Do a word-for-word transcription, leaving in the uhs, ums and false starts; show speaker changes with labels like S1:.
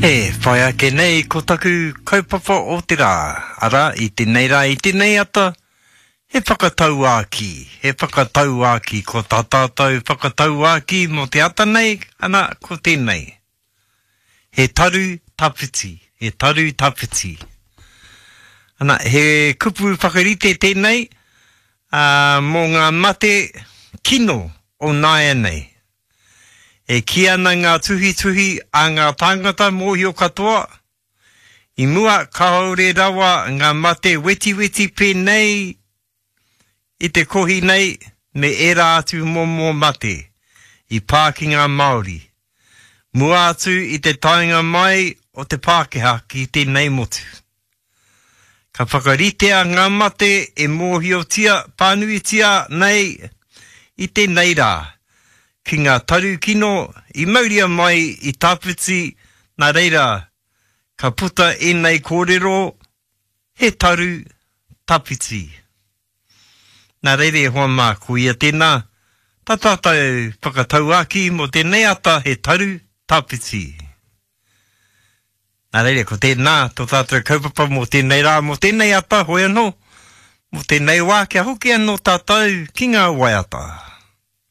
S1: E whai ake nei ko taku kaupapa o te rā, arā, i tēnei rā, i tēnei ata, he whakatauākī, he whakatauākī, ko tā tātou whakatauākī mō te ata nei, ana, ko tēnei. He taru tawhiti, he taru tawhiti. Ana, he kupu whakarite tēnei, ā, mō ngā mate kino o nāianei. E kī ana ngā tuhituhi a ngā tāngata mōhio katoa, i mua kāore rawa ngā mate wetiweti pēnei i te kohi nei me ērā atu momo mate i pā ki ngā Māori, mua atu i te taenga mai o te Pākehā ki tēnei motu. Ka whakaritea ngā mate e mōhiotia whānuitia nei i tēnei rā, ki ngā taru kino i mauria mai i tawhiti, nā reira, ka puta ēnei kōrero, he taru tawhiti. Nā reira e hoa mā, ko ia tēnā, tā tātou whakatauākī mō tēnei ata he taru tawhiti. Nā reira, ko tēnā tō tātou kaupapa mō tēnei rā, mō tēnei ata, hoi anō, mō tēnei wā, kia hoki anō tātou ki ngā waiata.